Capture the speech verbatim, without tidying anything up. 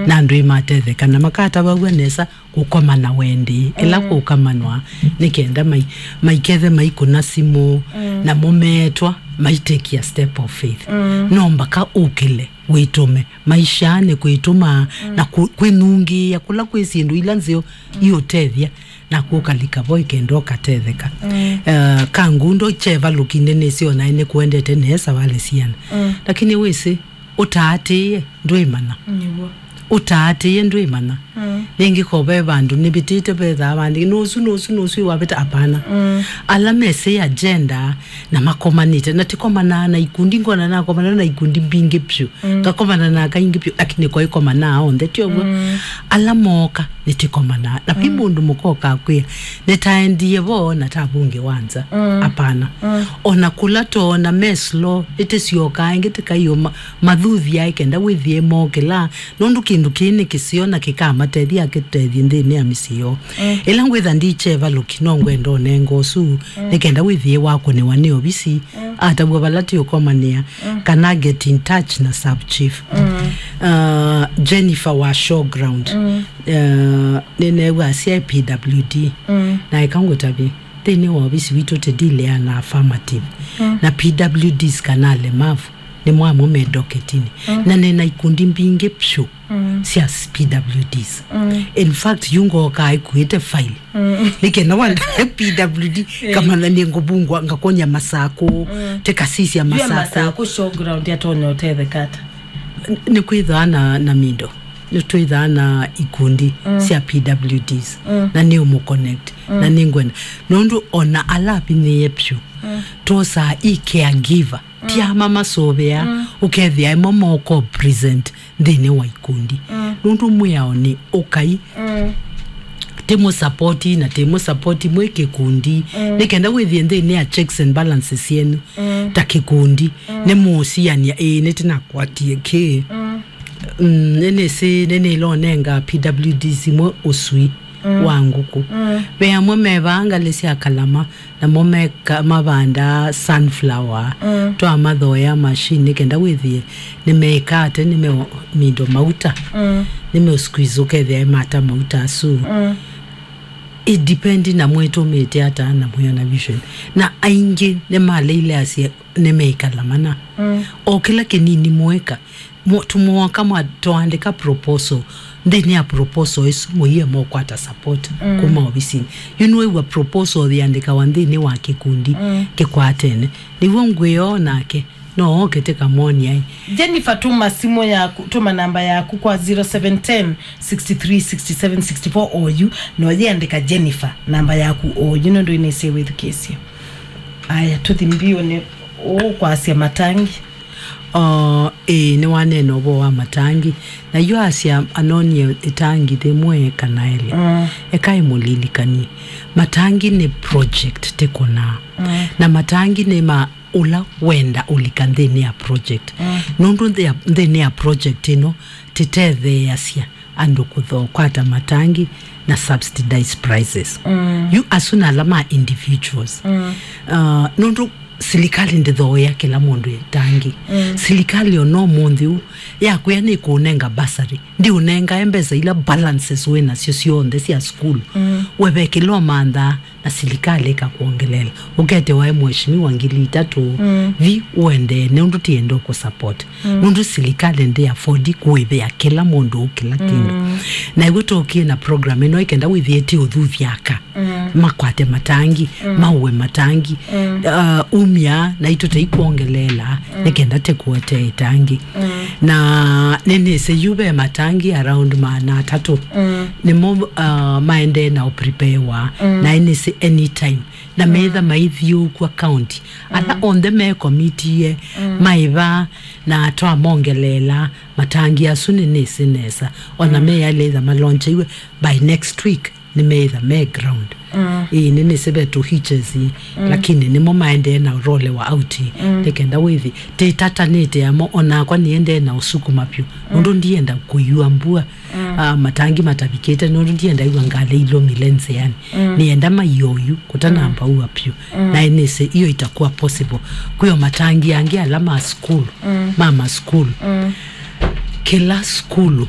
na andũ ĩmatetheka, na makatavaw'a nesa kũkomana wendi, ĩla kũkamanwa, nĩ kenda mai-, maikethe maikũna simũ, namo meetwa, maitekia step of faith. No mbaka ũkĩle, wĩtũme, maishanĩ kwĩtũma, na kũ-, kwĩnungĩĩa kũla kwĩ syĩndũ ila nzeo iũtethya, naku ũkalika vo ĩkenda ũkatetheka. Eh, ka ngundo kyevalũki nĩnĩsĩ o naĩ nĩkũendete nesa wale siana. Lakini wĩsĩ, ũtaatĩĩe ndwĩmana. Nĩw'o. Ũtaatĩĩe ndwĩmana. Rĩngĩ ko ve vandũ nĩvĩtĩte vethaa vandĩkĩtwe, "Nũsu, nũsu, nũsu wavĩta." Apana. Ala mesĩ agenda na makomanĩte, na tĩkomanaa na ikundi, ngona nakomana na ikundi mbingĩ vyũ. Ngakomana na aka ingĩ vyũ, lakini ko ikomanaa onthe, ti ũw'o? Ala mooka, nĩtĩkomanaa. Na vi mũndũ mũka ũkakwĩa, "Nĩtaendie vo na tavungĩ wa nza." Apana. Ona kũla toona me slow, nĩtĩsyokaa ĩngĩ tĩkaiũma, mathuthya ĩkenda wĩthĩe mokĩla, nũndũ kĩndũ kĩĩ nĩ kĩseo na kĩkamatethya akĩtethye nthĩnĩ ya mĩsyĩ yoo. Ĩla ngwĩtha ndikyevalũki, no ngwenda ũnenga ũsu, nĩ kenda wĩthĩe wakũnĩwa nĩ ovisi, atavw'a vala tĩũkomanĩa, kana get in touch na sub chief. Uh, Jennifer wa Showground, uh, nĩneew'a asyae P W D, na eka ngũtavye, nthĩnĩ wa ovisi witũ tĩdilea na affirmative, na P W Ds kana alemavu nĩ mwamwe me doketinĩ, na nĩna ikundi mbingĩ vyũ sya P W Ds. In fact, yu ngookaa ĩkuĩte file. Nĩ kenda wanda P W D, kamana nĩ ngũvungwa, ngakonya Masakũ, tĩkasisya Masakũ. Masakũ Showground atonya ũtetheka ata? Nĩ kwĩthaa na, na mindo. Nĩtwĩthaa na ikundi sya P W Ds, na nĩ ũmũ connect, na nĩ ngwenda. Nũndũ ona ala avinyĩĩe vyũ, twosaa i caregiver. Ti ama masũvĩaa, ũkethĩa ĩmo moko present nthĩnĩ wa ikundi. Nũndũ mwĩao nĩ ũkai, tĩmũsapoti na tĩmũsapoti mwĩ kĩkundi, nĩ kenda wĩthĩe nthĩnĩ ya checks and balances yenyu ta kĩkundi, nĩmũũsianĩa, "Ĩĩ, nĩtĩnakwatie kĩĩ." Mm, nĩnĩsĩ, nĩnĩlonenga P W Ds imwe ũsui wa ngũkũ. Ve amwe mevaa ngalĩ sya kalama, namo meka-, mavandaa sunflower, twamathoea machine, nĩ kenda wĩthĩe nĩmeĩka ate, nĩmemindo mauta, nĩme squeeze ũkethĩa ĩmata mauta asu. It depend na mwĩtũmĩte ata na mwĩona vision. Na aingĩ nĩmaleile asye nĩmeĩkala mana. O kĩla kĩnini mweka, mo-, tũmwoka mwa-, twaandĩka proposal. Nthĩnĩ ya proposal ĩsu, mũie mokwata support kuma ovisinĩ. Yu nĩwĩw'a proposal yĩandĩkawa nthĩnĩ wa kĩkundi kĩkwatene. Nĩw'o ngwĩoo nake, no oke tĩkamwonia ĩ. Jennifer, tũma simũ yaku, tũma namba yaku kwa zero seven ten, six three, six seven, six four oyu, na ũyĩandĩka Jennifer, namba yaku oyu, nũndũ ĩnĩsĩ wĩthukĩĩsye. Aya, tũthi mbio nĩ ũkwasya matangi. Uh, ĩĩ, nĩwaneena ũvoo wa matangi. Na yu asya anonie ĩtangi yĩmwe kana elĩ. Mm. Eka ĩmũlilikanie. Matangi nĩ project tĩkũnaa. Mm. Na matangi nĩ ma ũla wenda ũlika nthĩnĩ ya project. Mm. Nũndũ nthĩ ya, nthĩnĩ ya project ĩno, tĩtetheeasya andũ kũtho-, kwata matangi na subsidized prices. Mm. Yu asu na ala ma individuals. Mm. Uh, nũndũ silikalĩ ndĩthooea kĩla mũndũ ĩtangi. Mm. Silikalĩ ona ũmũnthĩ ũũ yakwĩa nĩkũũnenga bursary, ndĩũnengae mbesa ila balances wĩ nasyo syonthe sya sukulu. Mm. We ve kĩla ũmanthaa na silikalĩ ĩkakwongeleela. Ũketĩwa e mheshimiwa ngili itatũ, mm, vi ũendee, nũndũ tiende ũkũsupport. Mm. Nũndũ silikalĩ ndĩ afford kũĩvĩa kĩla mũndũ kĩla kĩndũ. Mm. Na ĩw'o tũkie na program ĩno ĩkenda wĩthĩe ti ũthuthya aka. Mm. Makwate matangi, mm, maũe matangi. Mm. Uh, umya, naitũ taikwongeleela, mm, nĩkenda tĩkũetee ĩtangi. Mm. Na nĩnĩsĩ yu ve matangi around maana atatũ. Mm. Nĩmo, uh, maendee na ũpreparewa, mm, na nĩnĩsĩ anytime. Na, mm, metha maithiũũkw'a county. Ala, mm, onthe mekomitie, mm, maĩva na twamongeleela matangi asu nĩnĩsĩ nesa. Ona, mm, meyaletha maloncheiwe by next week. Nĩmeĩtha me ground. Mm. Ĩĩ, nĩnĩsĩ ve tũ hitches, mm, lakini nĩmo maendee na ũrolewa out, mm, nĩkenda wĩthi tĩtatanĩte amo, onakwa nĩendee na ũsukuma vyũ. Mm. Nũndũ ndienda kũiwa mbua, mm, ah, matangi matavikĩte, nũndũ ndienda iwa ngalĩ ilũmile nzĩanĩ. Mm. Nĩenda maiye oyu kũtanamba, mm, ua vyũ. Mm. Na nĩsĩ iyo itakuwa possible. Kwĩo matangi angĩ ala ma sukulu, mm, ma masukulu. Mm. Kĩla sukulu